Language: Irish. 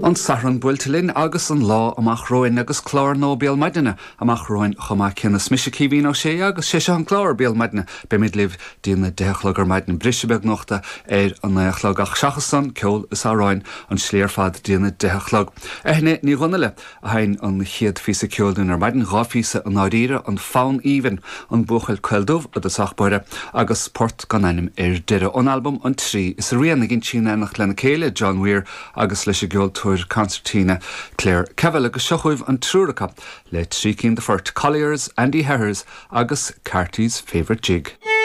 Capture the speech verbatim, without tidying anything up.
An Satharn buailte linn agus an lá amach romhainn agus clár nua Béal Maidine amach romhainn chomh maith céanna. Is mise Caoimhín Ó Sé agus sé seo an clár Béal Maidine beimid libh go dtí a deich a chlog ar maidin briseadh beag nuachta ar a naoi a chlog ach seachas san ceol is amhráin an slí ar fad go dtí a deich a chlog. Eithne Ní Dhonnaile a sheinn an chéad phíosa ceoil dúinn ar maidin dhá phíosa i ndáiríre an Fonn Aoibhinn an Buachaill Caol Dubh i dtosach báire agus port gan ainm ar deireadh ón albam an trí is a rian ag insí in éineacht lena céile John Weir agus leis an gceoltóir concertina Claire Kevill agus seo chugaibh an triúr acu le trí cinn de phoirt Colliers, Andy Harris agus Carty's Favourite Jig.